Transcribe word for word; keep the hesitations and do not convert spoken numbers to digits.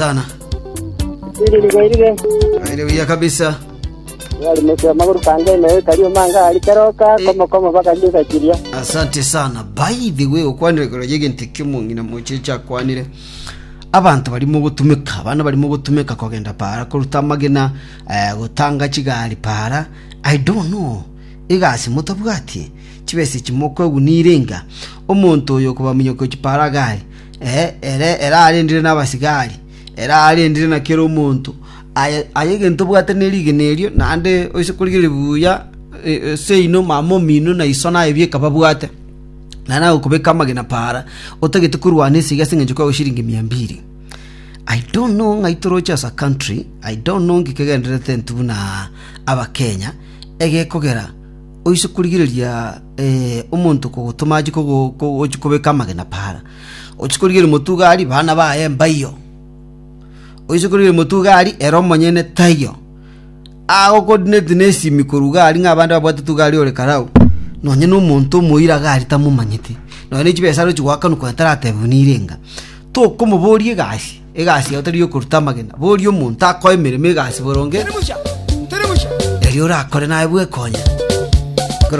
Sana. Ili ligoirire. Aire buya kabisa. Yali mese maguru kange me kariyo manga ali keroka komo komo baka gisa kiria. Asante sana. By the way, okwanire koro yegente kimong'ina mochecha akwanire. Abanto barimo gotumeka, abana barimo gotumeka kogenda para koruta amagena, eh, gotanga chigari para. I don't know. Egasi motabwati chibesa chimokoegwa nirenga omonto oyo okobaminyoko chipara gari, eh, ere ere arendire na abasigari, ere arendire na kera omonto aye aye egento obwate na erigena erio naende oise korigereria buya, eh, seino mama omino na iso naye bieka babwate naende agokobeka amagena para otagete korwana esegi ase eng'encho kwago shilingi mia mbili. I don't know ng'ai toroche as a country. I don't know nki kegendererete intwe buna abakenya egekogera oise korigereria, eh, omonto kogotoma achi kogo kogochi kobeka amagena para ochi korigereria motuga aria bana baye mbaiyo, oise korigereria motuga aria ere omonyene taiyo, agocoordinate na esimi korwa iga aria ng'a abande babwate tuga aria ore karau nonye na omonto omoira iga aria tamomanyeti nonye na chibesa arochi goakanwa konya taratebiwa nirenga. Tokomoboria egasi, egasi yao tari yokoruta amagena, boria omonto akoe emeremo egasi boronge erio orakore naye bwekonya.